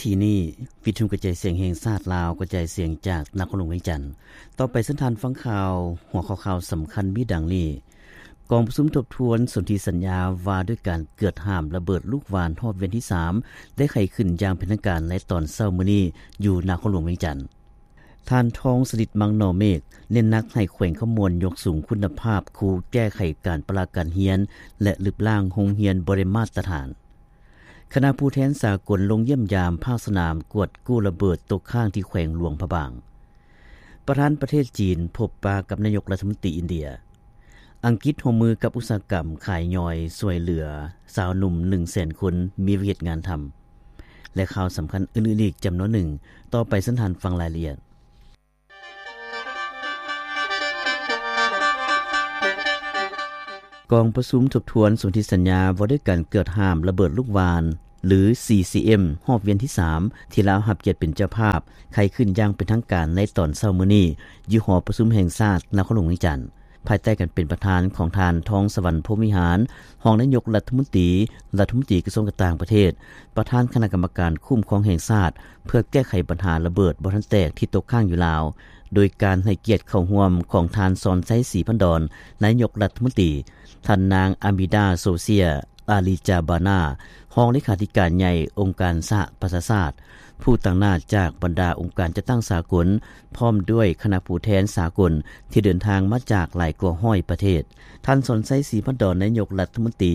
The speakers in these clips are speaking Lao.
ທີ່ນີ້ ວິທຍຸກະຈາຍສຽງແຫ່ງຊາດລາວ ກະຈາຍສຽງຈາກນະຄອນຫຼວງວຽງຈັນ. ຕໍ່ໄປເຊີນທ່ານຟັງຂ່າວ, ຫົວຂໍ້ຂ່າວສຳຄັນມີດັ່ງນີ້: ກອງປະຊຸມທົບທວນສົນທິສັນຍາວ່າດ້ວຍການເກືອດຫ້າມລະເບີດລູກຫວ່ານຮອບວຽນທີສາມ ໄດ້ໄຂຂຶ້ນຢ່າງເປັນທາງການໃນຕອນເຊົ້າມື້ນີ້ ຢູ່ນະຄອນຫຼວງວຽງຈັນ. ທ່ານ ທອງສະລິດ ມັງໜໍ່ເມກ ເນັ້ນໜັກໃຫ້ແຂວງຄຳມ່ວນຍົກສູງຄຸນນະພາບຄູແກ້ໄຂການປະລະການຮຽນ ແລະ ລຶບລ້າງໂຮງຮຽນບໍ່ໄດ້ມາດຕະຖານ. ຄະນະຜູ້ແທນສາກົນລົງຢ້ຽມຢາມພາກສະໜາມກວດກູ້ລະເບີດຕົກຄ້າງທີ່ແຂວງຫຼວງພະບາງ. ປະທານປະເທດຈີນພົບປະກັບນາຍົກລັດຖະມົນຕີອິນເດຍ. ອັງກິດຮ່ວມມືກັບອຸດສາຫະກຳຂາຍຍ່ອຍ ຊ່ວຍເຫຼືອຊາວໜຸ່ມໜຶ່ງແສນຄົນມີວຽກເຮັດງານທຳ ແລະ ຂ່າວສຳຄັນອື່ນໆອີກຈຳນວນໜຶ່ງ. ຕໍ່ໄປເຊີນທ່ານຟັງລາຍລະອຽດ. ກອງປະຊຸມທົບທວນສົນທິສັນຍາວ່າດ້ວຍການເກືອດຫ້າມລະເບີດລູກຫວ່ານ ຫຼື ຊີຊີເອັມ ຮອບວຽນທີສາມ ທີ່ລາວຮັບກຽດເປັນເຈົ້າພາບ ໄຂຂຶ້ນຢ່າງເປັນທາງການໃນຕອນເຊົ້າມື້ນີ້ ຢູ່ຫໍປະຊຸມແຫ່ງຊາດນະຄອນຫຼວງວຽງຈັນ ພາຍໃຕ້ການເປັນປະທານຂອງທ່ານ ທອງສະຫວັນ ພົມວິຫານ ຮອງນາຍົກລັດຖະມົນຕີ, ລັດຖະມົນຕີກະຊວງການຕ່າງປະເທດ, ປະທານຄະນະກຳມະການຄຸ້ມຄອງແຫ່ງຊາດ ເພື່ອແກ້ໄຂບັນຫາລະເບີດບໍ່ທັນແຕກທີ່ຕົກຄ້າງຢູ່ລາວ, ໂດຍການໃຫ້ກຽດເຂົ້າຮ່ວມຂອງທ່ານ ສອນໄຊ ສີພັນດອນ ນາຍົກລັດຖະມົນຕີ, ທ່ານນາງ ອາມິດາ ໂຊເຊຍ ອາລີຈາບານາ ຮອງເລຂາທິການໃຫຍ່ອົງການສະຫະປະຊາຊາດ, ຜູ້ຕາງໜ້າຈາກບັນດາອົງການຈັດຕັ້ງສາກົນ, ພ້ອມດ້ວຍຄະນະຜູ້ແທນສາກົນທີ່ເດີນທາງມາຈາກຫຼາຍກວ່າຮ້ອຍປະເທດ. ທ່ານ ສອນໄຊ ສີພັນດອນ ນາຍົກລັດຖະມົນຕີ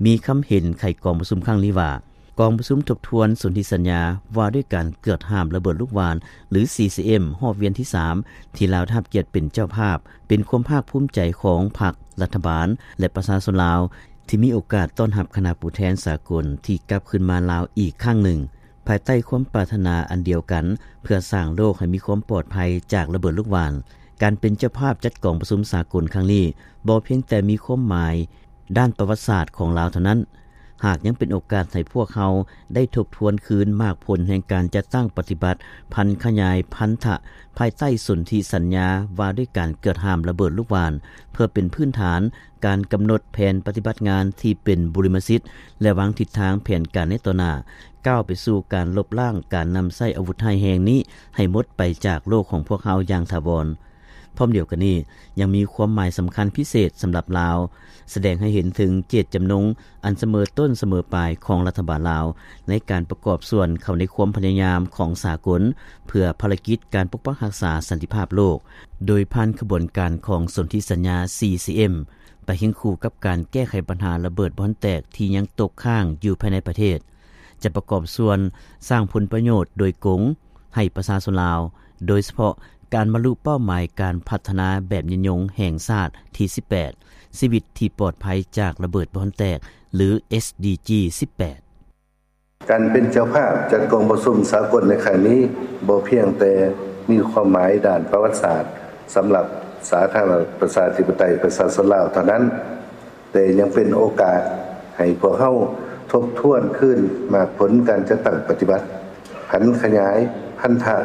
ມີຄຳເຫັນໄຂກອງປະຊຸມຄັ້ງນີ້ວ່າ ກອງປະຊຸມທົບທວນສົນທິສັນຍາວ່າດ້ວຍການເກືອດຫ້າມລະເບີດລູກຫວ່ານ ຫຼື ຊີຊີເອັມ ຮອບວຽນທີສາມ ທີ່ລາວໄດ້ຮັບກຽດເປັນເຈົ້າພາບ ເປັນຄວາມພາກພູມໃຈຂອງພັກ, ລັດຖະບານ ແລະ ປະຊາຊົນລາວ ທີ່ມີໂອກາດຕ້ອນຮັບຄະນະຜູ້ແທນສາກົນທີ່ກັບຄືນມາລາວອີກຄັ້ງໜຶ່ງ ພາຍໃຕ້ຄວາມປາດຖະໜາອັນດຽວກັນ ເພື່ອສ້າງໂລກໃຫ້ມີຄວາມປອດໄພຈາກລະເບີດລູກຫວ່ານ. ການເປັນເຈົ້າພາບຈັດກອງປະຊຸມສາກົນຄັ້ງນີ້ ບໍ່ພຽງແຕ່ມີຄວາມໝາຍດ້ານປະຫວັດສາດຂອງລາວເທົ່ານັ້ນ, ຫາກຍັງເປັນໂອກາດໃຫ້ພວກເຮົາໄດ້ທົບທວນຄືນໝາກຜົນແຫ່ງການຈັດຕັ້ງປະຕິບັດ ຜັນຂະຫຍາຍພັນທະ ພາຍໃຕ້ສົນທິສັນຍາວ່າດ້ວຍການເກືອດຫ້າມລະເບີດລູກຫວ່ານ ເພື່ອເປັນພື້ນຖານ ການກຳນົດແຜນປະຕິບັດງານທີ່ເປັນບຸລິມະສິດ ແລະ ວາງທິດທາງແຜນການໃນຕໍ່ໜ້າ ກ້າວໄປສູ່ການລົບລ້າງການນຳໃຊ້ອາວຸດຮ້າຍແຮງນີ້ໃຫ້ໝົດໄປຈາກໂລກຂອງພວກເຮົາຢ່າງຖາວອນ. ພ້ອມດຽວກັນນີ້ ຍັງມີຄວາມໝາຍສຳຄັນພິເສດສຳລັບລາວ, ສະແດງໃຫ້ເຫັນເຖິງເຈດຈຳນົງອັນສະເໝີຕົ້ນສະເໝີປາຍຂອງລັດຖະບານລາວ ໃນການປະກອບສ່ວນເຂົ້າໃນຄວາມພະຍາຍາມຂອງສາກົນ ເພື່ອພາລະກິດການປົກປັກຮັກສາສັນຕິພາບໂລກ, ໂດຍຜ່ານຂະບວນການຂອງສົນທິສັນຍາ ຊີຊີເອັມ ໄປຄຽງຄູ່ກັບການແກ້ໄຂບັນຫາລະເບີດບໍ່ທັນແຕກທີ່ຍັງຕົກຄ້າງຢູ່ພາຍໃນປະເທດ, ຈະປະກອບສ່ວນສ້າງຜົນປະໂຫຍດໂດຍກົງໃຫ້ປະຊາຊົນລາວ, ໂດຍສະເພາະການບັນລຸເປົ້າໝາຍການພັດທະນາແບບຍືນຍົງແຫ່ງຊາດທີສິບແປດ ຊີວິດທີ່ປອດໄພຈາກລະເບີດບໍ່ທັນແຕກ ຫຼື ເອສດີຈີ ສິບແປດ. ການເປັນເຈົ້າພາບຈັດກອງປະຊຸມສາກົນໃນຄັ້ງນີ້ ບໍ່ພຽງແຕ່ມີຄວາມໝາຍດ້ານປະຫວັດສາດສຳລັບສາທາລະນະລັດປະຊາທິປະໄຕປະຊາຊົນລາວເທົ່ານັ້ນ, ແຕ່ຍັງເປັນໂອກາດໃຫ້ພວກເຮົາທົບທວນຄືນໝາກຜົນການຈັດຕັ້ງປະຕິບັດ, ຜັນຂະຫຍາຍພັນທະ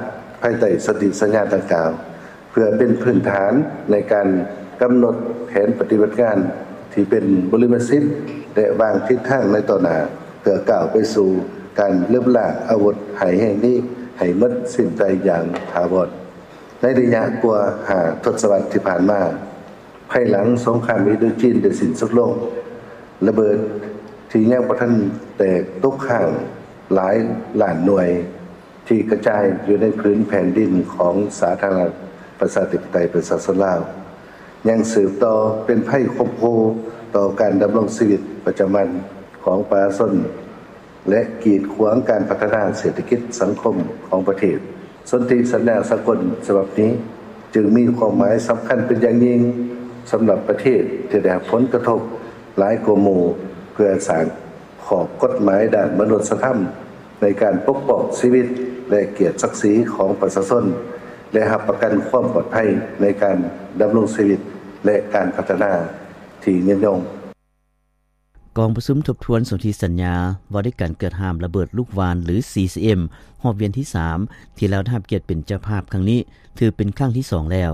ພາຍໃຕ້ສົນທິສັນຍາດັ່ງກ່າວ, ເພື່ອເປັນພື້ນຖານໃນການກຳນົດແຜນປະຕິບັດງານທີ່ເປັນບຸລິມະສິດ ແລະ ວາງທິດທາງໃນຕໍ່ໜ້າ ເພື່ອກ້າວໄປສູ່ການລຶບລ້າງອາວຸດຮ້າຍແຮງນີ້ໃຫ້ໝົດສິ້ນໄປຢ່າງຖາວອນ. ໃນໄລຍະກວ່າຫ້າທົດສະວັດທີ່ຜ່ານມາ, ພາຍຫຼັງສົງຄາມອິນໂດຈີນໄດ້ສິ້ນສຸດລົງ, ລະເບີດທີ່ຍັງບໍ່ທັນແຕກຕົກຄ້າງຫຼາຍລ້ານໜ່ວຍ ທີ່ກະຈາຍຢູ່ໃນຜືນແຜ່ນດິນຂອງສາທາລະນະລັດປະຊາທິປະໄຕປະຊາຊົນລາວ ຍັງສືບຕໍ່ເປັນໄພຂົ່ມຂູ່ຕໍ່ການດຳລົງຊີວິດປະຈຳວັນຂອງປະຊາຊົນ ແລະ ກີດຂວາງການພັດທະນາເສດຖະກິດສັງຄົມຂອງປະເທດ. ສົນທິສັນຍາສາກົນສະບັບນີ້ ຈຶ່ງມີຄວາມໝາຍສຳຄັນເປັນຢ່າງຍິ່ງສຳລັບປະເທດທີ່ໄດ້ຮັບຜົນກະທົບຫຼາຍກວ່າໝູ່ ເພື່ອສ້າງຂອບກົດໝາຍດ້ານມະນຸດສະທຳໃນການປົກປ້ອງຊີວິດ ແລະ ກຽດສັກສີຂອງປະຊາຊົນ ແລະ ຮັບປະກັນຄວາມປອດໄພໃນການດຳລົງຊີວິດ ແລະ ການພັດທະນາທີ່ຍືນຍົງ. ກອງປະຊຸມທົບທວນສົນທິສັນຍາວ່າດ້ວຍການເກີດຫ້າມລະເບີດລູກຫວ່ານ ຫຼື ຊີຊີເອັມ ຮອບວຽນທີສາມ ທີ່ລາວໄດ້ຮັບກຽດເປັນເຈົ້າພາບຄັ້ງນີ້ ຖືເປັນຄັ້ງທີສອງແລ້ວ.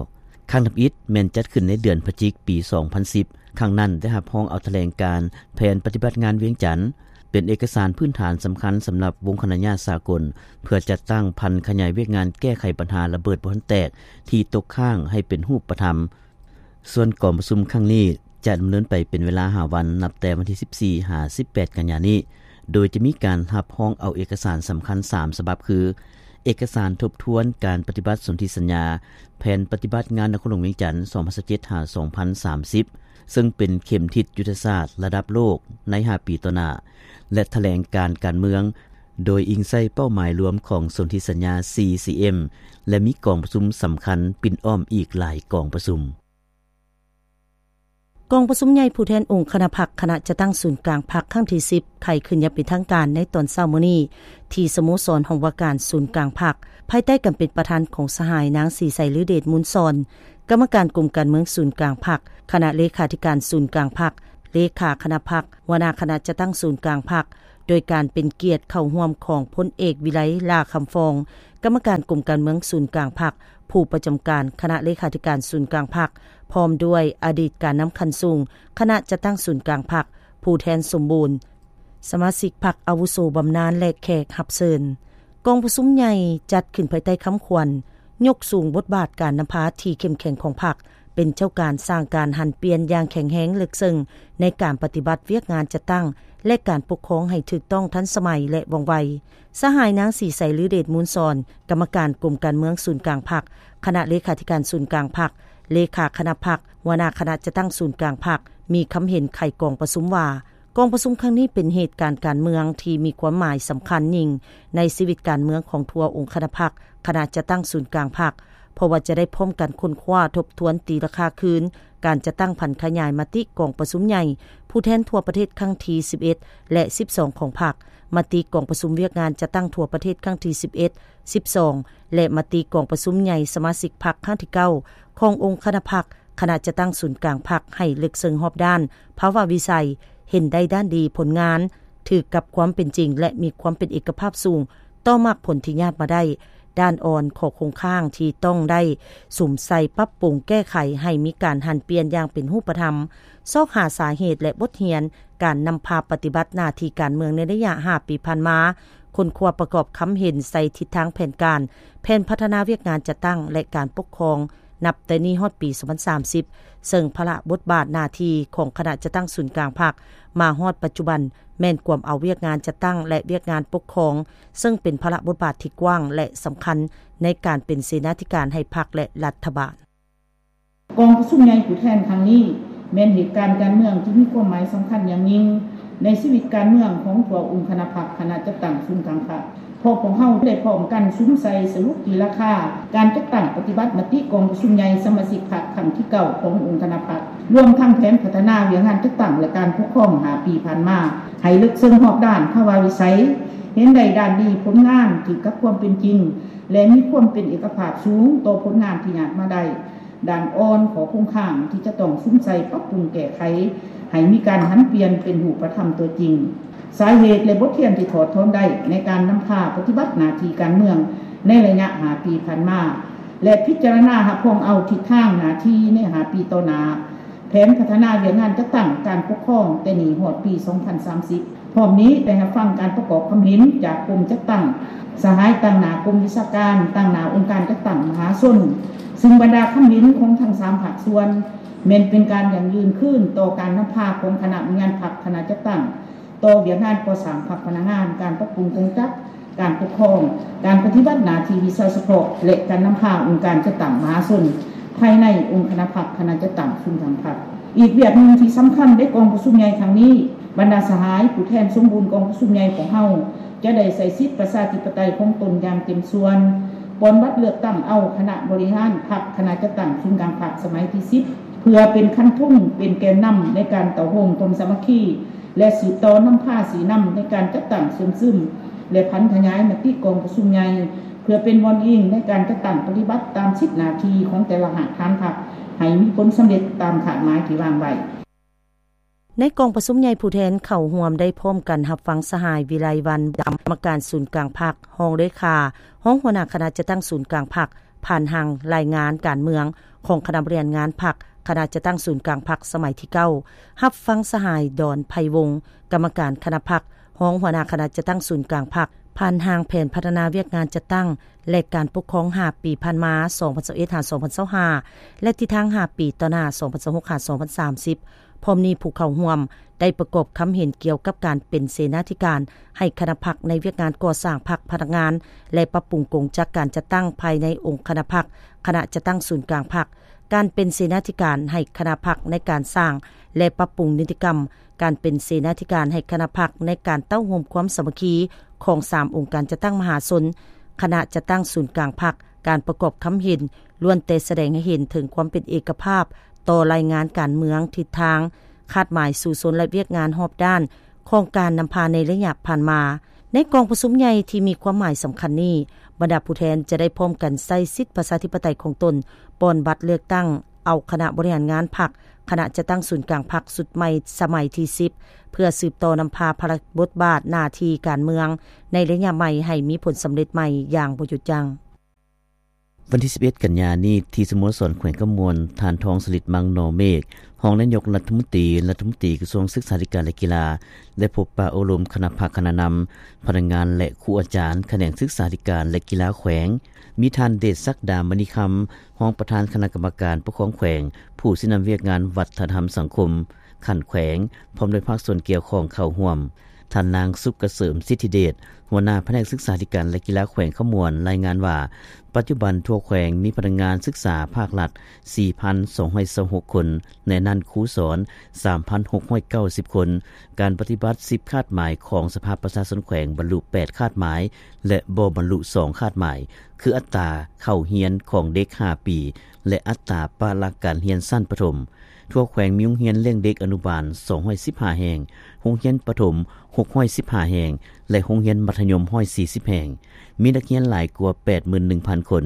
ຄັ້ງທຳອິດແມ່ນຈັດຂຶ້ນໃນເດືອນພະຈິກ ປີສອງພັນສິບ ຄັ້ງນັ້ນໄດ້ຮັບຮອງເອົາຖະແຫຼງການແຜນປະຕິບັດງານວຽງຈັນ. ເປັນເອກະສານພື້ນຖານສຳຄັນສຳລັບວົງຄະນະຍາດສາກົນ ເພື່ອຈັດຕັ້ງຜັນຂະຫຍາຍວຽກງານແກ້ໄຂບັນຫາລະເບີດບໍ່ທັນແຕກທີ່ຕົກຄ້າງໃຫ້ເປັນຮູບປະທຳ. ສ່ວນກອງປະຊຸມຄັ້ງນີ້ຈະດຳເນີນໄປເປັນເວລາຫ້າວັນ ນັບແຕ່ວັນທີສິບສີ່ຫາສິບແປດກັນຍານີ້ ໂດຍຈະມີການຮັບຮອງເອົາເອກະສານສຳຄັນສາມສະບັບ ຄື ເອກະສານທົບທວນການປະຕິບັດສົນທິສັນຍາ ແຜນປະຕິບັດງານນະຄອນຫຼວງວຽງຈັນ ສອງພັນຊາວເຈັດ ຫາ ສອງພັນສາມສິບ ເຊິ່ງເປັນເຂັມທິດຍຸດທະສາດລະດັບໂລກໃນຫ້າປີຕໍ່ໜ້າ ແລະ ຖະແຫຼງການການເມືອງ ໂດຍອີງໃສ່ເປົ້າໝາຍລວມຂອງສົນທິສັນຍາ ສີ່ ຊີ ເອັມ ແລະ ມີກອງປະຊຸມສຳຄັນປິ່ນອ້ອມອີກຫຼາຍກອງປະຊຸມ. ກອງປະຊຸມໃຫຍ່ຜູ້ແທນອົງຄະນະພັກ ຄະນະຈັດຕັ້ງສູນກາງພັກຄັ້ງທີສິບ ໄຂຂຶ້ນຢ່າງເປັນທາງການໃນຕອນເຊົ້າມື້ນີ້ ທີ່ສະໂມສອນຫ້ອງວ່າການສູນກາງພັກ ພາຍໃຕ້ການເປັນປະທານຂອງສະຫາຍນາງ ສີໃສ ລືເດດມູນສອນ ກຳມະການກົມການເມືອງສູນກາງພັກ, ຄະນະເລຂາທິການສູນກາງພັກ, ເລຂາຄະນະພັກ, ຫົວໜ້າຄະນະຈັດຕັ້ງສູນກາງພັກ, ໂດຍການເປັນກຽດເຂົ້າຮ່ວມຂອງພົນເອກ ວິໄລ ຫຼ້າຄຳຟອງ ກຳມະການກົມການເມືອງສູນກາງພັກ, ຜູ້ປະຈຳການຄະນະເລຂາທິການສູນກາງພັກ, ພ້ອມດ້ວຍອະດີດການນຳຂັ້ນສູງຄະນະຈັດຕັ້ງສູນກາງພັກ, ຜູ້ແທນສົມບູນ, ສະມາຊິກພັກອາວຸໂສບຳນານ ແລະ ແຂກຮັບເຊີນ. ກອງປະຊຸມໃຫຍ່ຈັດຂຶ້ນພາຍໃຕ້ຄຳຂວັນ ຍົກສູງບົດບາດການນຳພາທີ່ເຂັ້ມແຂງຂອງພັກ, ເປັນເຈົ້າການສ້າງການຫັນປ່ຽນຢ່າງແຂງແຮງເລິກເຊິ່ງໃນການປະຕິບັດວຽກງານຈັດຕັ້ງ ແລະ ການປົກຄອງໃຫ້ຖືກຕ້ອງ, ທັນສະໄໝ ແລະ ວ່ອງໄວ. ສະຫາຍນາງ ສີໃສ ລືເດດມູນສອນ ກຳມະການກົມການເມືອງສູນກາງພັກ, ຄະນະເລຂາທິການສູນກາງພັກ, ເລຂາຄະນະພັກ, ຫົວໜ້າຄະນະຈັດຕັ້ງສູນກາງພັກ ມີຄຳເຫັນໄຂກອງປະຊຸມວ່າ, ກອງປະຊຸມຄັ້ງນີ້ເປັນເຫດການການເມືອງທີ່ມີຄວາມໝາຍສຳຄັນຍິ່ງໃນຊີວິດການເມືອງຂອງທົ່ວອົງຄະນະພັກ, ຄະນະຈັດຕັ້ງສູນກາງພັກ, ເພາະວ່າຈະໄດ້ພ້ອມກັນຄົ້ນຄວ້າທົບທວນຕີລາຄາຄືນ ການຈັດຕັ້ງຜັນຂະຫຍາຍມະຕິກອງປະຊຸມໃຫຍ່ຜູ້ແທນທົ່ວປະເທດຄັ້ງທີສິບເອັດ ແລະ ສິບສອງ ຂອງພັກ, ມະຕິກອງປະຊຸມວຽກງານຈັດຕັ້ງທົ່ວປະເທດຄັ້ງທີສິບເອັດ, ສິບສອງ ແລະ ມະຕິກອງປະຊຸມໃຫຍ່ສະມາຊິກພັກຄັ້ງທີເກົ້າ ຂອງອົງຄະນະພັກ, ຄະນະຈັດຕັ້ງສູນກາງພັກໃຫ້ເລິກເຊິ່ງຮອບດ້ານ, ພາວະວິໄສ, ເຫັນໄດ້ດ້ານດີ, ຜົນງານ, ຖືກກັບຄວາມເປັນຈິງ ແລະ ມີຄວາມເປັນເອກະພາບສູງຕໍ່ໝາກຜົນທີ່ຍາດມາໄດ້. ດ້ານອ່ອນ, ຂໍ້ຄົງຄ້າງທີ່ຕ້ອງໄດ້ສຸມໃສ່ປັບປຸງແກ້ໄຂໃຫ້ມີການຫັນປ່ຽນຢ່າງເປັນຮູບປະທຳ, ຊອກຫາສາເຫດ ແລະ ບົດຮຽນການນຳພາປະຕິບັດໜ້າທີ່ການເມືອງໃນໄລຍະຫ້າປີຜ່ານມາ, ຄົ້ນຄວ້າປະກອບຄຳເຫັນໃສ່ທິດທາງແຜນການ, ແຜນພັດທະນາວຽກງານຈັດຕັ້ງ ແລະ ການປົກຄອງ ນັບແຕ່ນີ້ຮອດປີສອງພັນສາມສິບ ເຊິ່ງພາລະບົດບາດໜ້າທີ່ຂອງຄະນະຈັດຕັ້ງສູນກາງພັກ ມາຮອດປັດຈຸບັນ ແມ່ນກວມເອົາວຽກງານຈັດຕັ້ງ ແລະ ວຽກງານປົກຄອງ ເຊິ່ງເປັນພາລະບົດບາດທີ່ກວ້າງ ແລະ ສຳຄັນໃນການເປັນເສນາທິການໃຫ້ພັກ ແລະ ລັດຖະບານ. ກອງປະຊຸມໃຫຍ່ຜູ້ແທນຄັ້ງນີ້ ແມ່ນເຫດການການເມືອງທີ່ມີຄວາມໝາຍສຳຄັນຢ່າງຍິ່ງໃນຊີວິດການເມືອງຂອງທົ່ວອົງຄະນະພັກ, ຄະນະຈັດຕັ້ງສູນກາງພັກ. ພວກພວກເຮົາໄດ້ພ້ອມກັນສຸມໃສ່ສະຫຼຸບຕີລາຄາການຈັດຕັ້ງປະຕິບັດມະຕິກອງປະຊຸມໃຫຍ່ສະມາຊິກພັກຄັ້ງທີເກົ້າຂອງອົງຄະນະພັກ, ລວມທັງແຜນພັດທະນາວຽກງານຈັດຕັ້ງ ແລະ ການປົກຄອງຫ້າປີຜ່ານມາ ໃຫ້ເລິກເຊິ່ງຮອບດ້ານ, ພາວະວິໄສ, ເຫັນໄດ້ດ້ານດີ, ຜົນງານ, ຖືກກັບຄວາມເປັນຈິງ ແລະ ມີຄວາມເປັນເອກະພາບສູງຕໍ່ຜົນງານທີ່ຍາດມາໄດ້. ດ້ານອ່ອນ, ຂໍ້ຄົງຄ້າງທີ່ຈະຕ້ອງສຸມໃສ່ປັບປຸງແກ້ໄຂ ໃຫ້ມີການຫັນປ່ຽນເປັນຮູບປະທຳຕົວຈິງ. ສາເຫດ ແລະ ບົດຮຽນທີ່ຖອດຖອນໄດ້ໃນການນຳພາປະຕິບັດໜ້າທີ່ການເມືອງໃນໄລຍະຫ້າປີຜ່ານມາ ແລະ ພິຈາລະນາຮັບຮອງເອົາທິດທາງໜ້າທີ່ໃນຫ້າປີຕໍ່ໜ້າ, ແຜນພັດທະນາວຽກງານຈັດຕັ້ງການປົກຄອງແຕ່ນີ້ຮອດປີສອງພັນສາມສິບ. ພ້ອມນີ້ໄດ້ຮັບຟັງການປະກອບຄຳເຫັນຈາກກົມຈັດຕັ້ງ, ສະຫາຍຕາງໜ້າກົມວິຊາການ, ຕາງໜ້າອົງການຈັດຕັ້ງມະຫາຊົນ, ຊຶ່ງບັນດາຄຳເຫັນຂອງທັງສາມພາກສ່ວນ ແມ່ນເປັນການຢັ້ງຢືນຄືນຕໍ່ການນຳພາຂອງຄະນະວິຍານພັກ, ຄະນະຈັດຕັ້ງ, ຕໍ່ວຽກງານກໍ່ສ້າງພັກພະນັກງານ, ການປັບປຸງກົງຈັກ, ການປົກຄອງ, ການປະຕິບັດໜ້າທີ່ວິຊາສະເພາະ ແລະ ການນຳພາອົງການຈັດຕັ້ງມະຫາຊົນ ພາຍໃນອົງຄະນະພັກ, ຄະນະຈັດຕັ້ງສູນກາງພັກ. ອີກວຽກໜຶ່ງທີ່ສຳຄັນໃນກອງປະຊຸມໃຫຍ່ຄັ້ງນີ້, ບັນດາສະຫາຍຜູ້ແທນສົມບູນກອງປະຊຸມໃຫຍ່ຂອງເຮົາ ຈະໄດ້ໃຊ້ສິດປະຊາທິປະໄຕຂອງຕົນຢ່າງເຕັມສ່ວນ, ປ່ອນບັດເລືອກຕັ້ງເອົາຄະນະບໍລິຫານພັກ, ຄະນະຈັດຕັ້ງສູນກາງພັກສະໄໝທີສິບ ເພື່ອເປັນຄັນທຸງ, ເປັນແກນນຳໃນການເຕົ້າໂຮມຄວາມສາມັກຄີ ແລະ ສືບຕໍ່ນຳພາຊີ້ນຳໃນການຈັດຕັ້ງເຊື່ອມຊຶມ ແລະ ຜັນຂະຫຍາຍມະຕິກອງປະຊຸມໃຫຍ່ ເພື່ອເປັນບ່ອນອີງໃນການຈັດຕັ້ງປະຕິບັດຕາມສິດໜ້າທີ່ຂອງແຕ່ລະຮາກຖານພັກ ໃຫ້ມີຜົນສຳເລັດຕາມຄາດໝາຍທີ່ວາງໄວ້. ໃນກອງປະຊຸມໃຫຍ່ຜູ້ແທນເຂົ້າຮ່ວມໄດ້ພ້ອມກັນຮັບຟັງສະຫາຍ ວິໄລວັນ ດຳ ກຳມະການສູນກາງພັກ, ຮອງເລຂາ, ຮອງຫົວໜ້າຄະນະຈັດຕັ້ງສູນກາງພັກ, ຜ່ານຮ່າງລາຍງານການເມືອງຂອງຄະນະບໍລິຫານງານພັກ, ຄະນະຈັດຕັ້ງສູນກາງພັກສະໄໝທີເກົ້າ, ຮັບຟັງສະຫາຍ ດອນ ໄພວົງ ກຳມະການຄະນະພັກ, ຮອງຫົວໜ້າຄະນະຈັດຕັ້ງສູນກາງພັກ ຜ່ານຮ່າງແຜນພັດທະນາວຽກງານຈັດຕັ້ງ ແລະ ການປົກຄອງຫ້າປີຜ່ານມາ ສອງພັນຊາວເອັດ ຫາ ສອງພັນຊາວຫ້າ ແລະ ທິດທາງຫ້າປີຕໍ່ໜ້າ ສອງພັນຊາວຫົກ ຫາ ສອງພັນສາມສິບ. ພ້ອມນີ້ຜູ້ເຂົ້າຮ່ວມໄດ້ປະກອບຄຳເຫັນກ່ຽວກັບການເປັນເສນາທິການໃຫ້ຄະນະພັກໃນວຽກງານກໍ່ສ້າງພັກພະນັກງານ ແລະ ປັບປຸງກົງຈັກການຈັດຕັ້ງພາຍໃນອົງຄະນະພັກ, ຄະນະຈັດຕັ້ງສູນກາງພັກ, ການເປັນເສນາທິການໃຫ້ຄະນະພັກໃນການສ້າງ ແລະ ປັບປຸງນິຕິກຳ, ການເປັນເສນາທິການໃຫ້ຄະນະພັກໃນການເຕົ້າໂຮມຄວາມສາມັກຄີຂອງສາມອົງການຈັດຕັ້ງມະຫາຊົນ, ຄະນະຈັດຕັ້ງສູນກາງພັກ, ການປະກອບຄຳເຫັນ ລ້ວນແຕ່ສະແດງໃຫ້ເຫັນເຖິງຄວາມເປັນເອກະພາບຕໍ່ລາຍງານການເມືອງ, ທິດທາງ, ຄາດໝາຍສູ້ຊົນ ແລະ ວຽກງານຮອບດ້ານຂອງການນຳພາໃນໄລຍະຜ່ານມາ. ໃນກອງປະຊຸມໃຫຍ່ທີ່ມີຄວາມໝາຍສຳຄັນນີ້, ບັນດາຜູ້ແທນຈະໄດ້ພ້ອມກັນໃຊ້ສິດປະຊາທິປະໄຕຂອງຕົນ, ປ່ອນບັດເລືອກຕັ້ງເອົາຄະນະບໍລິຫານງານພັກ, ຄະນະຈັດຕັ້ງສູນກາງພັກຊຸດໃໝ່ສະໄໝທີສິບ ເພື່ອສືບຕໍ່ນຳພາພາລະບົດບາດໜ້າທີ່ການເມືອງໃນໄລຍະໃໝ່ໃຫ້ມີຜົນສຳເລັດໃໝ່ຢ່າງບໍ່ຢຸດຢັ້ງ. ວັນທີສິບເອັດ ກັນຍານີ້ ທີ່ສະໂມສອນແຂວງຄຳມ່ວນ, ທ່ານ ທອງສະລິດ ມັງໜໍເມກ ຮອງນາຍົກລັດຖະມົນຕີ, ລັດຖະມົນຕີກະຊວງສຶກສາທິການ ແລະ ກິລາ ໄດ້ພົບປະໂອ້ລົມຄະນະພັກ, ຄະນະນຳ, ພະນັກງານ ແລະ ຄູອາຈານຂະແໜງສຶກສາທິການ ແລະ ກິລາແຂວງ, ມີທ່ານ ເດດສັກດາ ມະນີຄຳ ຮອງປະທານຄະນະກຳມະການປົກຄອງແຂວງ, ຜູ້ຊີ້ນຳວຽກງານວັດທະນະທຳສັງຄົມຂັ້ນແຂວງ, ພ້ອມດ້ວຍພາກສ່ວນກ່ຽວຂ້ອງເຂົ້າຮ່ວມ. ທ່ານ ນາງ ສຸກກະເສີມ ສິດທິເດດ ຫົວໜ້າພະແນກສຶກສາທິການ ແລະ ກິລາແຂວງຄຳມ່ວນ ລາຍງານວ່າ ປັດຈຸບັນທົ່ວແຂວງມີພະນັກງານສຶກສາພາກລັດ ສີ່ພັນສອງຮ້ອຍຊາວຫົກຄົນ, ໃນນັ້ນຄູສອນ ສາມພັນຫົກຮ້ອຍເກົ້າສິບຄົນ. ການປະຕິບັດ ສິບຄາດໝາຍຂອງສະພາປະຊາຊົນແຂວງ ບັນລຸ ແປດຄາດໝາຍ ແລະ ບໍ່ບັນລຸ ສອງຄາດໝາຍ ຄືອັດຕາເຂົ້າຮຽນຂອງເດັກຫ້າປີ ແລະ ອັດຕາປະລະການຮຽນຊັ້ນປະຖົມ. ທົ່ວແຂວງມີໂຮງຮຽນລ້ຽງເດັກອະນຸບານ ສອງຮ້ອຍສິບຫ້າແຫ່ງ, ໂຮງຮຽນປະຖົມ ຫົກຮ້ອຍສິບຫ້າແຫ່ງ ແລະ ໂຮງຮຽນມັດທະຍົມ ຮ້ອຍສີ່ສິບແຫ່ງ, ມີນັກຮຽນຫຼາຍກວ່າ ແປດໝື່ນໜຶ່ງພັນຄົນ.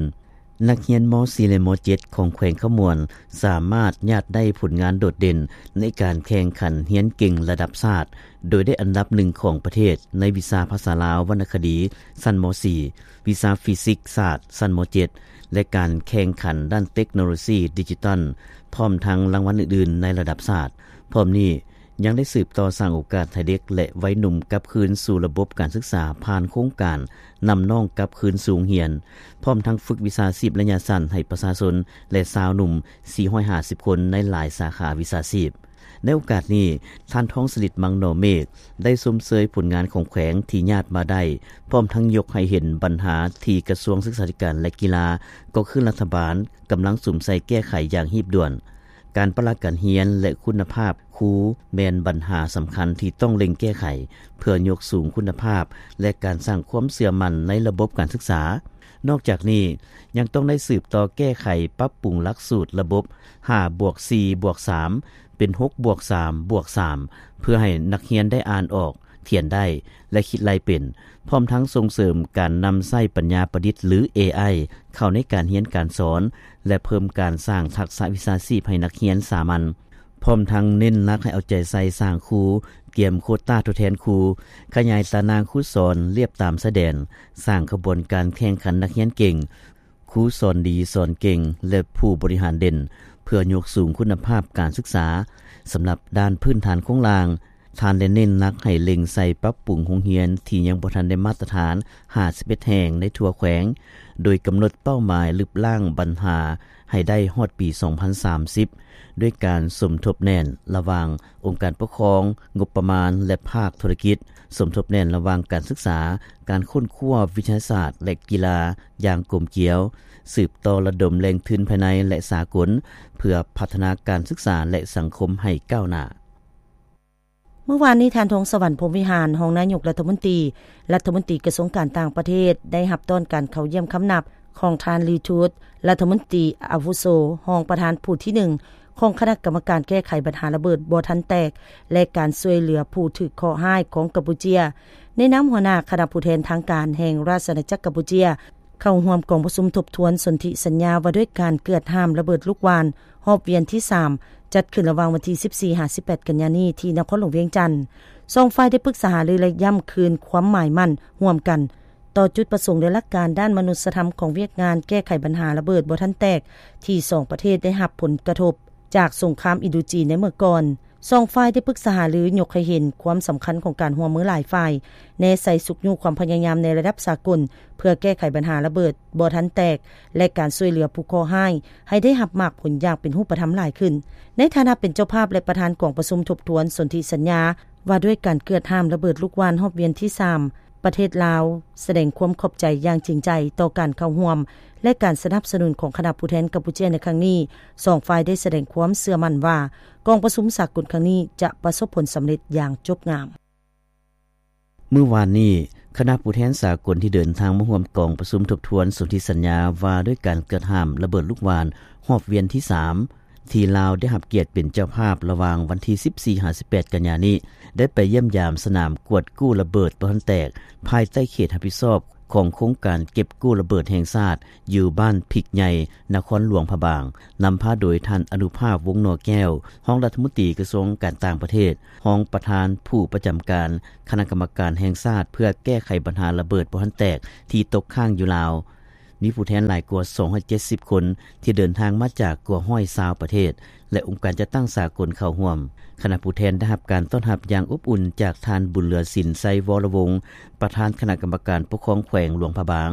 ນັກຮຽນ ມ.ສີ່ ແລະ ມ.ເຈັດ ຂອງແຂວງຄຳມ່ວນ ສາມາດຍາດໄດ້ຜົນງານໂດດເດັ່ນໃນການແຂ່ງຂັນຮຽນເກັ່ງລະດັບຊາດ, ໂດຍໄດ້ອັນດັບໜຶ່ງຂອງປະເທດໃນວິຊາພາສາລາວວັນນະຄະດີ ຊັ້ນ ມ.ສີ່, ວິຊາຟີຊິກສາດ ຊັ້ນ ມ.ເຈັດ ແລະ ການແຂ່ງຂັນດ້ານເຕັກໂນໂລຊີດິຈິຕອນ, ພ້ອມທັງລາງວັນອື່ນໆໃນລະດັບຊາດ. ພ້ອມນີ້ ຍັງໄດ້ສືບຕໍ່ສ້າງໂອກາດໃຫ້ເດັກ ແລະ ໄວໜຸ່ມກັບຄືນສູ່ລະບົບການສຶກສາ ຜ່ານໂຄງການນຳນ້ອງກັບຄືນສູ່ໂຮງຮຽນ, ພ້ອມທັງຝຶກວິຊາຊີບໄລຍະສັ້ນໃຫ້ປະຊາຊົນ ແລະ ຊາວໜຸ່ມ ສີ່ຮ້ອຍຫ້າສິບຄົນ ໃນຫຼາຍສາຂາວິຊາຊີບ. ໃນໂອກາດນີ້, ທ່ານ ທອງສະລິດ ມັງໜໍເມກ ໄດ້ຊົມເຊີຍຜົນງານຂອງແຂວງທີ່ຍາດມາໄດ້, ພ້ອມທັງຍົກໃຫ້ເຫັນບັນຫາທີ່ກະຊວງສຶກສາທິການ ແລະ ກິລາ, ກໍຄືລັດຖະບານກຳລັງສຸມໃສ່ແກ້ໄຂຢ່າງຮີບດ່ວນ. ການປະລະການຮຽນ ແລະ ຄຸນນະພາບຄູແມ່ນບັນຫາສຳຄັນທີ່ຕ້ອງເລັ່ງແກ້ໄຂ ເພື່ອຍົກສູງຄຸນນະພາບ ແລະ ການສ້າງຄວາມເຊື່ອໝັ້ນໃນລະບົບການສຶກສາ. ນອກຈາກນີ້ ຍັງຕ້ອງໄດ້ສືບຕໍ່ແກ້ໄຂປັບປຸງຫຼັກສູດລະບົບ ຫ້າບວກສີ່ບວກສາມ ເປັນ ຫົກບວກສາມບວກສາມ ເພື່ອໃຫ້ນັກຮຽນໄດ້ອ່ານອອກ, ຂຽນໄດ້ ແລະ ຄິດໄລ່ເປັນ, ພ້ອມທັງສົ່ງເສີມການນຳໃຊ້ປັນຍາປະດິດ ຫຼື ເອໄອ ເຂົ້າໃນການຮຽນການສອນ ແລະ ເພີ່ມການສ້າງທັກສະວິຊາຊີບໃຫ້ນັກຮຽນສາມັນ, ພ້ອມທັງເນັ້ນໜັກໃຫ້ເອົາໃຈໃສ່ສ້າງຄູ, ກຽມໂຄຕ້າທົດແທນຄູ, ຂະຫຍາຍຕາໜ່າງຄູສອນລຽບຕາມຊາຍແດນ, ສ້າງຂະບວນການແຂ່ງຂັນນັກຮຽນເກັ່ງ, ຄູສອນດີສອນເກັ່ງ ແລະ ຜູ້ບໍລິຫານເດັ່ນ ເພື່ອຍົກສູງຄຸນນະພາບການສຶກສາ. ສຳລັບດ້ານພື້ນຖານໂຄງລ່າງ, ທ່ານໄດ້ເນັ້ນໜັກໃຫ້ເລັ່ງໃສ່ປັບປຸງໂຮງຮຽນທີ່ຍັງບໍ່ທັນໄດ້ມາດຕະຖານ ຫ້າສິບເອັດແຫ່ງໃນທົ່ວແຂວງ, ໂດຍກຳນົດເປົ້າໝາຍລຶບລ້າງບັນຫາໃຫ້ໄດ້ຮອດປີສອງພັນສາມສິບ ດ້ວຍການສົມທົບແໜ້ນລະຫວ່າງອົງການປົກຄອງ, ງົບປະມານ ແລະ ພາກທຸລະກິດ, ສົມທົບແໜ້ນລະຫວ່າງການສຶກສາ, ການຄົ້ນຄວ້າ, ວິທະຍາສາດ ແລະ ກິລາຢ່າງກົມກຽວ, ສືບຕໍ່ລະດົມແຫຼ່ງທຶນພາຍໃນ ແລະ ສາກົນ ເພື່ອພັດທະນາການສຶກສາ ແລະ ສັງຄົມໃຫ້ກ້າວໜ້າ. ເມື່ອວານນີ້, ທ່ານ ທອງສະຫວັນ ພົມວິຫານ ຮອງນາຍົກລັດຖະມົນຕີ, ລັດຖະມົນຕີກະຊວງການຕ່າງປະເທດ ໄດ້ຮັບຕ້ອນການເຂົ້າຢ້ຽມຄຳນັບຂອງທ່ານ ລີ ທູດ ລັດຖະມົນຕີອາວຸໂສ, ຮອງປະທານຜູ້ທີໜຶ່ງຂອງຄະນະກຳມະການແກ້ໄຂບັນຫາລະເບີດບໍ່ທັນແຕກ ແລະ ການຊ່ວຍເຫຼືອຜູ້ຖືກເຄາະຮ້າຍຂອງກຳປູເຈຍ, ໃນນາມຫົວໜ້າຄະນະຜູ້ແທນທາງການແຫ່ງລາຊະອານາຈັກກຳປູເຈຍ, ເຂົ້າຮ່ວມກອງປະຊຸມທົບທວນສົນທິສັນຍາວ່າດ້ວຍການເກືອດຫ້າມລະເບີດລູກຫວ່ານ ຮອບວຽນທີສາມ ຈັດຂຶ້ນລະຫວ່າງວັນທີສິບສີ່ ຫາ ສິບແປດ ກັນຍານີ້ ທີ່ນະຄອນຫຼວງວຽງຈັນ. ສອງຝ່າຍໄດ້ປຶກສາຫາລື ແລະ ຢ້ຳຄືນຄວາມໝາຍໝັ້ນຮ່ວມກັນ ຕໍ່ຈຸດປະສົງ ແລະ ຫຼັກການດ້ານມະນຸດສະທຳຂອງວຽກງານແກ້ໄຂບັນຫາລະເບີດບໍ່ທັນແຕກ ທີ່ສອງປະເທດໄດ້ຮັບຜົນກະທົບຈາກສົງຄາມອິນໂດຈີນໃນເມື່ອກ່ອນ. ສອງຝ່າຍໄດ້ປຶກສາຫາລືຍົກໃຫ້ເຫັນຄວາມສຳຄັນຂອງການຮ່ວມມືຫຼາຍຝ່າຍ, ແນໃສ່ຊຸກຍູ້ຄວາມພະຍາຍາມໃນລະດັບສາກົນ ເພື່ອແກ້ໄຂບັນຫາລະເບີດບໍ່ທັນແຕກ ແລະ ການຊ່ວຍເຫຼືອຜູ້ເຄາະຮ້າຍໃຫ້ໄດ້ຮັບໝາກຜົນຢ່າງເປັນຮູບປະທຳຫຼາຍຂຶ້ນ. ໃນຖານະເປັນເຈົ້າພາບ ແລະ ປະທານກອງປະຊຸມທົບທວນສົນທິສັນຍາວ່າດ້ວຍການເກີດຫ້າມລະເບີດລູກຫວ່ານຮອບວຽນທີສາມ ປະເທດລາວສະແດງຄວາມຂອບໃຈຢ່າງຈິງໃຈຕໍ່ການເຂົ້າຮ່ວມ ແລະ ການສະໜັບສະໜູນຂອງຄະນະຜູ້ແທນກຳປູເຈຍໃນຄັ້ງນີ້. ສອງຝ່າຍໄດ້ສະແດງຄວາມເຊື່ອໝັ້ນວ່າ ກອງປະຊຸມສາກົນຄັ້ງນີ້ຈະປະສົບຜົນສຳເລັດຢ່າງຈົບງາມ. ມື້ວານນີ້, ຄະນະຜູ້ແທນສາກົນທີ່ເດີນທາງມາຮ່ວມກອງປະຊຸມທົບທວນສົນທິສັນຍາວ່າດ້ວຍການເກີດຫ້າມລະເບີດລູກຫວ່ານຮອບວຽນທີສາມ ທີ່ລາວໄດ້ຮັບກຽດເປັນເຈົ້າພາບລະຫວ່າງວັນທີສິບສີ່ຫາສິບແປດກັນຍານີ້ ໄດ້ໄປຢ້ຽມຢາມສະໜາມກວດກູ້ລະເບີດບໍ່ທັນແຕກ ພາຍໃຕ້ເຂດຮັບຜິດຊອບຂອງໂຄງການເກັບກູ້ລະເບີດແຫ່ງຊາດ ຢູ່ບ້ານພິກໃຫຍ່ ນະຄອນຫຼວງພະບາງ, ນຳພາໂດຍທ່ານ ອະນຸພາບ ວົງໜໍແກ້ວ, ຮອງລັດຖະມົນຕີກະຊວງການຕ່າງປະເທດ, ຮອງປະທານຜູ້ປະຈຳການຄະນະກຳມະການແຫ່ງຊາດ ເພື່ອແກ້ໄຂບັນຫາລະເບີດບໍ່ທັນແຕກທີ່ຕົກຄ້າງຢູ່ລາວ. ມີຜູ້ແທນຫຼາຍກວ່າສອງຮ້ອຍເຈັດສິບຄົນ ທີ່ເດີນທາງມາຈາກກວ່າຮ້ອຍຊາວປະເທດ ແລະ ອົງການຈັດຕັ້ງສາກົນເຂົ້າຮ່ວມ. ຄະນະຜູ້ແທນໄດ້ຮັບການຕ້ອນຮັບຢ່າງອົບອຸ່ນຈາກທ່ານ ບຸນເຫຼືອສິນ ໄຊວໍລະວົງ, ປະທານຄະນະກຳມະການປົກຄອງແຂວງຫຼວງພະບາງ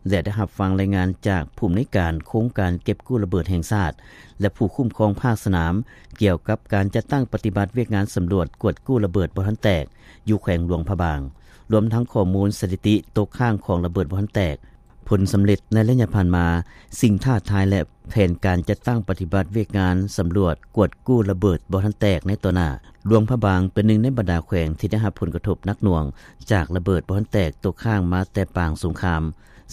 ແລະ ໄດ້ຮັບຟັງລາຍງານຈາກຜູ້ອຳນວຍການໂຄງການເກັບກູ້ລະເບີດແຫ່ງຊາດ ແລະ ຜູ້ຄຸ້ມຄອງພາກສະໜາມ ກ່ຽວກັບການຈັດຕັ້ງປະຕິບັດວຽກງານສຳຫຼວດກວດກູ້ລະເບີດບໍ່ທັນແຕກ ຢູ່ແຂວງຫຼວງພະບາງ, ລວມທັງຂໍ້ມູນສະຖິຕິຕົກຄ້າງຂອງລະເບີດບໍ່ທັນແຕກ, ຜົນສຳເລັດໃນໄລຍະຜ່ານມາ, ສິ່ງທ້າທາຍ ແລະ ແຜນການຈັດຕັ້ງປະຕິບັດວຽກງານສຳຫຼວດກວດກູ້ລະເບີດບໍ່ທັນແຕກໃນຕໍ່ໜ້າ. ຫຼວງພະບາງເປັນໜຶ່ງໃນບັນດາແຂວງທີ່ໄດ້ຮັບຜົນກະທົບໜັກໜ່ວງຈາກລະເບີດບໍ່ທັນແຕກຕົກຄ້າງມາແຕ່ປາງສົງຄາມ,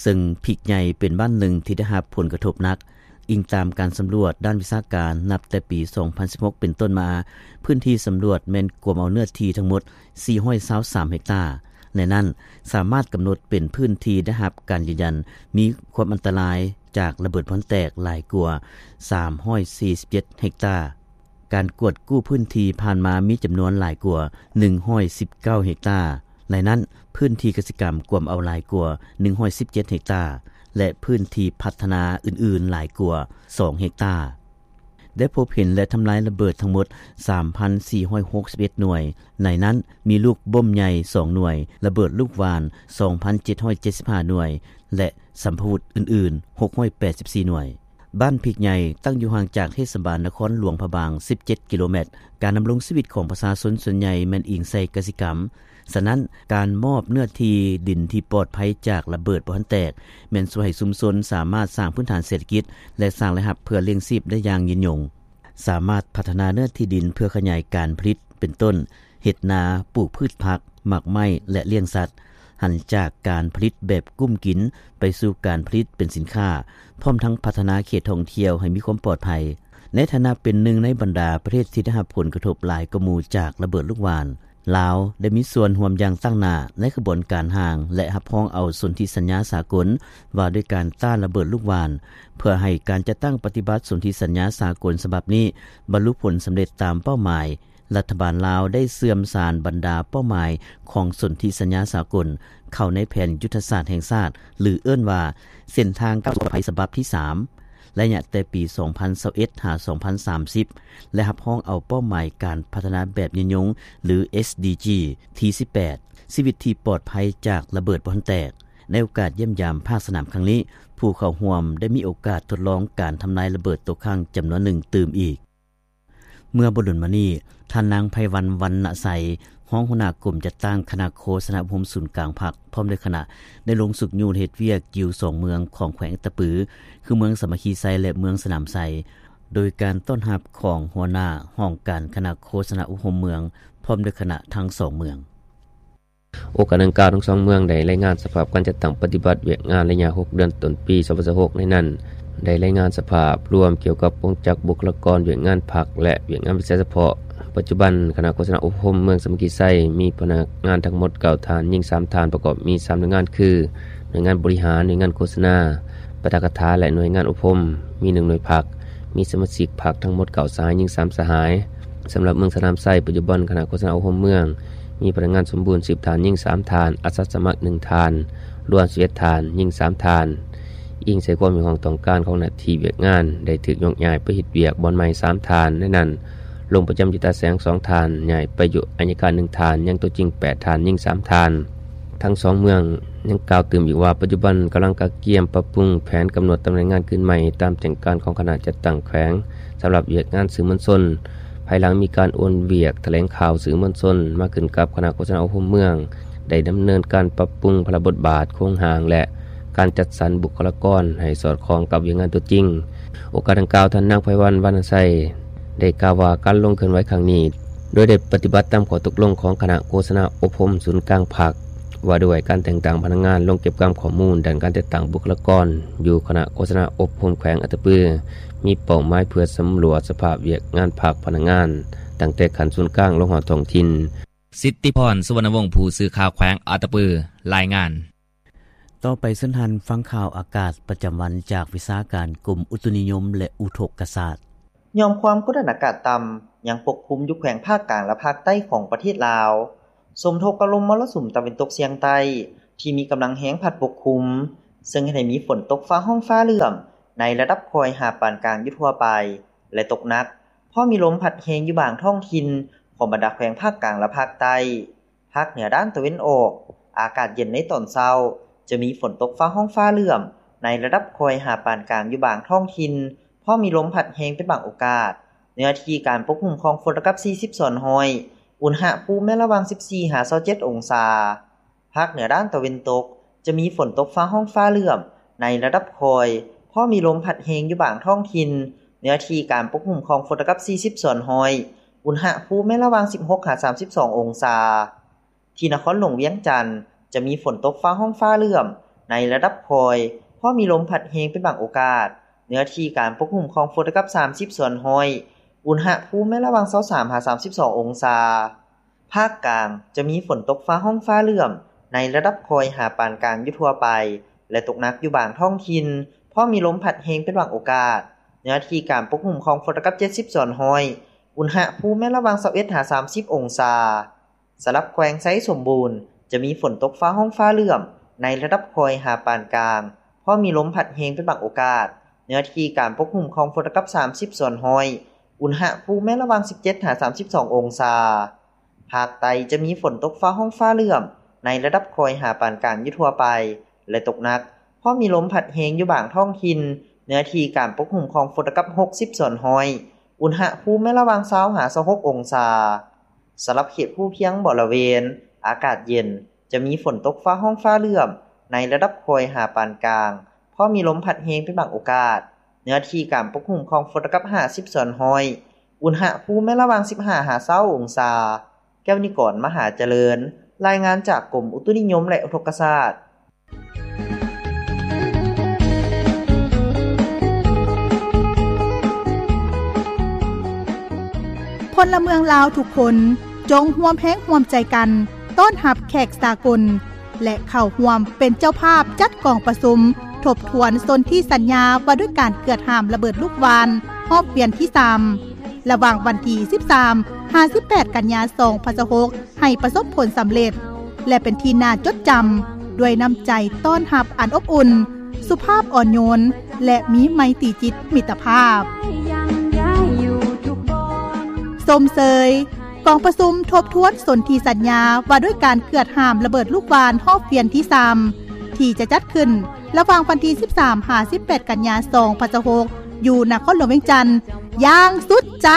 ເຊິ່ງພິກໃຫຍ່ເປັນບ້ານໜຶ່ງທີ່ໄດ້ຮັບຜົນກະທົບໜັກ. ອີງຕາມການສຳຫຼວດດ້ານວິຊາການ, ນັບແຕ່ປີສອງພັນສິບຫົກເປັນຕົ້ນມາ, ພື້ນທີ່ສຳຫຼວດແມ່ນກວມເອົາເນື້ອທີ່ທັງໝົດສີ່ຮ້ອຍຊາວສາມເຮັກຕາ. ໃນນັ້ນ, ສາມາດກຳນົດເປັນພື້ນທີ່ໄດ້ຮັບການຢືນຢັນມີຄວາມອັນຕະລາຍຈາກລະເບີດບໍ່ທັນແຕກຫຼາຍກວ່າສາມຮ້ອຍສີ່ສິບເຈັດເຮັກຕາ. ການກວດກູ້ພື້ນທີ່ຜ່ານມາມີຈຳນວນຫຼາຍກວ່າໜຶ່ງຮ້ອຍສິບເກົ້າເຮັກຕາ. ໃນນັ້ນ, ພື້ນທີ່ກະສິກຳກວມເອົາຫຼາຍກວ່າໜຶ່ງຮ້ອຍສິບເຈັດເຮັກຕາ ແລະ ພື້ນທີ່ພັດທະນາອື່ນໆຫຼາຍກວ່າສອງເຮັກຕາ. ໄດ້ພົບເຫັນ ແລະ ທຳລາຍລະເບີດທັງໝົດສາມພັນສີ່ຮ້ອຍຫົກສິບເອັດໜ່ວຍ, ໃນນັ້ນມີລູກບົ້ມໃຫຍ່ສອງໜ່ວຍ, ລະເບີດລູກຫວ່ານສອງພັນເຈັດຮ້ອຍເຈັດສິບຫ້າໜ່ວຍ ແລະ ສຳພະວຸດອື່ນໆຫົກຮ້ອຍແປດສິບສີ່ໜ່ວຍ. ບ້ານພິກໃຫຍ່ຕັ້ງຢູ່ຫ່າງຈາກເທດສະບານນະຄອນຫຼວງພະບາງສິບເຈັດກິໂລແມັດ. ການດຳລົງຊີວິດຂອງປະຊາຊົນສ່ວນໃຫຍ່ແມ່ນອີງໃສ່ກະສິກຳ. ສະນັ້ນ, ການມອບເນື້ອທີ່ດິນທີ່ປອດໄພຈາກລະເບີດບໍ່ທັນແຕກ ແມ່ນຊ່ວຍໃຫ້ຊຸມຊົນສາມາດສ້າງພື້ນຖານເສດຖະກິດ ແລະ ສ້າງລາຍຮັບເພື່ອລ້ຽງຊີບໄດ້ຢ່າງຍືນຍົງ. ສາມາດພັດທະນາເນື້ອທີ່ດິນເພື່ອຂະຫຍາຍການຜະລິດ ເປັນຕົ້ນ ເຮັດນາ, ປູກພືດຜັກ, ໝາກໄມ້ ແລະ ລ້ຽງສັດ, ຫັນຈາກການຜະລິດແບບກຸ້ມກິນໄປສູ່ການຜະລິດເປັນສິນຄ້າ, ພ້ອມທັງພັດທະນາເຂດທ່ອງທ່ຽວໃຫ້ມີຄວາມປອດໄພ. ໃນຖານະເປັນໜຶ່ງໃນບັນດາປະເທດທີ່ໄດ້ຮັບຜົນກະທົບຫຼາຍກວ່າໝູ່ຈາກລະເບີດລູກຫວ່ານ, ລາວໄດ້ມີສ່ວນຮ່ວມຢ່າງຕັ້ງໜ້າໃນຂະບວນການຮ່າງ ແລະ ຮັບຮອງເອົາສົນທິສັນຍາສາກົນວ່າດ້ວຍການຕ້ານລະເບີດລູກຫວ່ານ, ເພື່ອໃຫ້ການຈັດຕັ້ງປະຕິບັດສົນທິສັນຍາສາກົນສະບັບນີ້ບັນລຸຜົນສຳເລັດຕາມເປົ້າໝາຍ. ລັດຖະບານລາວໄດ້ເຊື່ອມສານບັນດາເປົ້າໝາຍຂອງສົນທິສັນຍາສາກົນເຂົ້າໃນແຜນຍຸດທະສາດແຫ່ງຊາດ ຫຼື ເອີ້ນວ່າເສັ້ນທາງກ້າວສູ່ປອດໄພສະບັບທີສາມ ໄລຍະແຕ່ປີສອງພັນຊາວເອັດຫາສອງພັນສາມສິບ ແລະ ຮັບຮອງເອົາເປົ້າໝາຍການພັດທະນາແບບຍືນຍົງ ຫຼື ເອສດີຈີ ທີສິບແປດ ຊີວິດທີ່ປອດໄພຈາກລະເບີດບໍ່ທັນແຕກ. ໃນໂອກາດຢ້ຽມຢາມພາກສະໜາມຄັ້ງນີ້, ຜູ້ເຂົ້າຮ່ວມໄດ້ມີໂອກາດທົດລອງການທຳລາຍລະເບີດຕົກຄ້າງຈຳນວນໜຶ່ງຕື່ມອີກ. ເມື່ອບໍ່ດົນມານີ້, ທ່ານນາງ ໄພວັນ ວັນນະໄຊ, ຮອງຫົວໜ້າກົມຈັດຕັ້ງຄະນະໂຄສະນາອົບຮົມສູນກາງພັກ ພ້ອມດ້ວຍຄະນະ ໄດ້ລົງຊຸກຍູ້ເຮັດວຽກຢູ່ສອງເມືອງຂອງແຂວງອັດຕະປື ຄືເມືອງສາມັກຄີໄຊ ແລະ ເມືອງສະໜາມໄຊ, ໂດຍການຕ້ອນຮັບຂອງຫົວໜ້າຫ້ອງການຄະນະໂຄສະນາອົບຮົມເມືອງ ພ້ອມດ້ວຍຄະນະທັງສອງເມືອງ. ໂອກາດດັ່ງກ່າວ, ທັງສອງເມືອງໄດ້ລາຍງານສະພາບການຈັດຕັ້ງປະຕິບັດວຽກງານໄລຍະຫົກເດືອນຕົ້ນປີສອງພັນຊາວຫົກ ໃນນັ້ນໄດ້ລາຍງານສະພາບລວມກ່ຽວກັບກົງຈັກບຸກຄະລາກອນ, ວຽກງານພັກ ແລະ ວຽກງານວິຊາສະເພາະ. ປັດຈຸບັນ, ຄະນະໂຄສະນາອົບຮົມເມືອງສາມັກຄີໄຊ ມີພະນັກງານທັງໝົດເກົ້າທ່ານ, ຍິງສາມທ່ານ, ປະກອບມີສາມໜ່ວຍງານຄື ໜ່ວຍງານບໍລິຫານ, ໜ່ວຍງານໂຄສະນາ, ປາຖະກະຖາ ແລະ ໜ່ວຍງານອົບຮົມ, ມີໜຶ່ງໜ່ວຍພັກ, ມີສະມາຊິກພັກທັງໝົດເກົ້າສະຫາຍ, ຍິງສາມສະຫາຍ. ສຳລັບເມືອງສະໜາມໄຊ, ປັດຈຸບັນຄະນະໂຄສະນາອົບຮົມເມືອງມີພະນັກງານສົມບູນສິບທ່ານ, ຍິງສາມທ່ານ, ອາສາສະມັກໜຶ່ງທ່ານ, ລວມສິບເອັດທ່ານ, ຍິງສາມທ່ານ. ອີງໃສ່ຄວາມຮຽກຮ້ອງຕ້ອງການຂອງໜ້າທີ່ວຽກງານ, ໄດ້ຖືກໂຍກຍ້າຍໄປເຮັດວຽກບ່ອນໃໝ່ສາມທ່ານ. ໃນນັ້ນ, ລົງປະຈຳຢູ່ຕາແສງສອງທ່ານ, ຍ້າຍໄປຢູ່ໄອຍະການໜຶ່ງທ່ານ, ຍັງໂຕຈິງແປດທ່ານ, ຍິງສາມທ່ານ. ທັງສອງເມືອງຍັງກ່າວຕື່ມອີກວ່າ ປັດຈຸບັນກຳລັງກະກຽມປັບປຸງແຜນກຳນົດຕຳແໜ່ງງານຄືນໃໝ່ ຕາມແຈ້ງການຂອງຄະນະຈັດຕັ້ງແຂວງ ສຳລັບວຽກງານສື່ມວນຊົນ ພາຍຫຼັງມີການໂອນວຽກຖະແຫຼງຂ່າວສື່ມວນຊົນມາຂຶ້ນກັບຄະນະໂຄສະນາອົບຮົມເມືອງ ໄດ້ດຳເນີນການປັບປຸງພາລະບົດບາດ, ໂຄງຮ່າງ ແລະ ການຈັດສັນບຸກຄະລາກອນໃຫ້ສອດຄ່ອງກັບວຽກງານຕົວຈິງ. ໂອກາດດັ່ງກ່າວ, ທ່ານນາງ ໄພວັນ ວັນນະໄຊ ໄດ້ກ່າວວ່າ ການລົງເຄື່ອນໄຫວຄັ້ງນີ້ ໂດຍໄດ້ປະຕິບັດຕາມຂໍ້ຕົກລົງຂອງຄະນະໂຄສະນາອົບຮົມສູນກາງພັກ ວ່າດ້ວຍການແຕ່ງຕັ້ງພະນັກງານລົງເກັບກຳຂໍ້ມູນດ້ານການຈັດຕັ້ງບຸກຄະລາກອນ ຢູ່ຄະນະໂຄສະນາອົບຮົມແຂວງອັດຕະປື, ມີເປົ້າໝາຍເພື່ອສຳຫຼວດສະພາບວຽກງານພັກພະນັກງານ ຕັ້ງແຕ່ຂັ້ນສູນກາງລົງຮອດທ້ອງຖິ່ນ. ສິດທິພອນ ສຸວັນນະວົງ ຜູ້ສື່ຂ່າວແຂວງອັດຕະປື ລາຍງານ. ຕໍ່ໄປເຊີນທ່ານຟັງຂ່າວອາກາດປະຈຳວັນຈາກວິຊາການກົມອຸຕຸນິຍົມ ແລະ ອຸທົກກະສາດ. ຍ້ອນຄວາມກົດອາກາດຕ່ຳຍັງປົກຄຸມຢູ່ແຂວງພາກກາງ ແລະ ພາກໃຕ້ຂອງປະເທດລາວ, ສົມທົບກັບລົມມໍລະສຸມຕາເວັນຕົກສຽງໃຕ້ທີ່ມີກຳລັງແຮງພັດປົກຄຸມ, ເຊິ່ງເຮັດໃຫ້ມີຝົນຕົກຟ້າຮ້ອງຟ້າເຫຼື້ອມໃນລະດັບຄ່ອຍຫາປານກາງຢູ່ທົ່ວໄປ ແລະ ຕົກໜັກ, ເພາະມີລົມພັດແຮງຢູ່ບາງທ້ອງຖິ່ນຂອງບັນດາແຂວງພາກກາງ ແລະ ພາກໃຕ້. ພາກເໜືອດ້ານຕາເວັນອອກ ອາກາດເຢັນໃນຕອນເຊົ້າ, ຈະມີຝົນຕົກຟ້າຮ້ອງຟ້າເຫຼື້ອມໃນລະດັບຄ່ອຍຫາປານກາງຢູ່ບາງທ້ອງຖິ່ນ, ເພາະມີລົມພັດແຮງເປັນບາງໂອກາດ. ເນື້ອທີ່ການປົກຄຸມຂອງຝົນລະດັບສີ່ສິບສ່ວນຮ້ອຍ, ອຸນຫະພູມແມ່ນລະຫວ່າງສິບສີ່ຫາຊາວເຈັດອົງສາ. ພາກເໜືອດ້ານຕາເວັນຕົກ ຈະມີຝົນຕົກຟ້າຮ້ອງຟ້າເຫຼື້ອມໃນລະດັບຄ່ອຍ, ເພາະມີລົມພັດແຮງຢູ່ບາງທ້ອງຖິ່ນ. ເນື້ອທີ່ການປົກຄຸມຂອງຝົນລະດັບສີ່ສິບສ່ວນຮ້ອຍ, ອຸນຫະພູມແມ່ນລະຫວ່າງສິບຫົກຫາສາມສິບສອງອົງສາ. ທີ່ນະຄອນຫຼວງວຽງຈັນ ຈະມີຝົນຕົກຟ້າຮ້ອງຟ້າເຫຼື້ອມໃນລະດັບຄ່ອຍ, ເພາະມີລົມພັດແຮງເປັນບາງໂອກາດ. ເນື້ອທີ່ການປົກຄຸມຂອງຝົນລະດັບສາມສິບສ່ວນຮ້ອຍ, ອຸນຫະພູມແມ່ນລະຫວ່າງຊາວສາມຫາສາມສິບສອງອົງສາ. ພາກກາງ ຈະມີຝົນຕົກຟ້າຮ້ອງຟ້າເຫຼື້ອມໃນລະດັບຄ່ອຍຫາປານກາງຢູ່ທົ່ວໄປ ແລະ ຕົກໜັກຢູ່ບາງທ້ອງຖິ່ນ, ເພາະມີລົມພັດແຮງເປັນບາງໂອກາດ. ເນື້ອທີ່ການປົກຄຸມຂອງຝົນລະດັບເຈັດສິບສ່ວນຮ້ອຍ, ອຸນຫະພູມແມ່ນລະຫວ່າງຊາວເອັດຫາສາມສິບອົງສາ. ສຳລັບແຂວງໄຊສົມບູນ ຈະມີຝົນຕົກຟ້າຮ້ອງຟ້າເຫຼື້ອມໃນລະດັບຄ່ອຍຫາປານກາງ, ເພາະມີລົມພັດແຮງເປັນບາງໂອກາດ. ເນື້ອທີ່ການປົກຄຸມຂອງຝົນລະດັບສາມສິບສ່ວນຮ້ອຍ, ອຸນຫະພູມແມ່ນລະຫວ່າງສິບເຈັດຫາສາມສິບສອງອົງສາ. ພາກໃຕ້ຈະມີຝົນຕົກຟ້າຮ້ອງຟ້າເຫຼື້ອມໃນລະດັບຄ່ອຍຫາປານກາງຢູ່ທົ່ວໄປ ແລະ ຕົກໜັກ, ເພາະມີລົມພັດແຮງຢູ່ບາງທ້ອງຖິ່ນ. ເນື້ອທີ່ການປົກຄຸມຂອງຝົນລະດັບຫົກສິບສ່ວນຮ້ອຍ, ອຸນຫະພູມແມ່ນລະຫວ່າງຊາວຫາຊາວຫົກອົງສາ. ສຳລັບເຂດພູພຽງບໍລະເວນ ອາກາດເຢັນ, ຈະມີຝົນຕົກຟ້າຮ້ອງຟ້າເຫຼື້ອມໃນລະດັບຄ່ອຍຫາປານກາງ, ເພາະມີລົມພັດແຮງເປັນບາງໂອກາດ. ເນື້ອທີ່ການປົກຄຸມຂອງຝົນລະດັບຫ້າສິບສ່ວນຮ້ອຍ, ອຸນຫະພູມແມ່ນລະຫວ່າງສິບຫ້າຫາຊາວອົງສາ. ແກ້ວນິກອນ ມະຫາຈະເລີນ, ລາຍງານຈາກກົມອຸຕຸນິຍົມ ແລະ ອຸທົກກະສາດ. ພົນລະເມືອງລາວທຸກຄົນ ຈົ່ງຮ່ວມແຮງຮ່ວມໃຈກັນ ຕ້ອນຮັບແຂກສາກົນ ແລະ ເຂົ້າຮ່ວມເປັນເຈົ້າພາບຈັດກອງປະຊຸມທົບທວນສົນທິສັນຍາວ່າດ້ວຍການເກືອດຫ້າມລະເບີດລູກຫວ່ານຮອບວຽນທີສາມ ລະຫວ່າງວັນທີສິບສາມຫາສິບແປດກັນຍາສອງພັນຊາວຫົກ ໃຫ້ປະສົບຜົນສຳເລັດ ແລະ ເປັນທີ່ໜ້າຈົດຈຳ ດ້ວຍນ້ຳໃຈຕ້ອນຮັບອັນອົບອຸ່ນ, ສຸພາບອ່ອນໂຍນ ແລະ ມີໄມຕີຈິດມິດຕະພາບ. ຊົມເຊີຍກອງປະຊຸມທົບທວນສົນທິສັນຍາວ່າດ້ວຍການເກືອດຫ້າມລະເບີດລູກຫວ່ານຮອບວຽນທີສາມ ທີ່ຈະຈັດຂຶ້ນລະຫວ່າງວັນທີສິບສາມຫາສິບແປດກັນຍາສອງພັນຊາວຫົກ ຢູ່ນະຄອນຫຼວງວຽງຈັນຢ່າງສຸດໃຈ.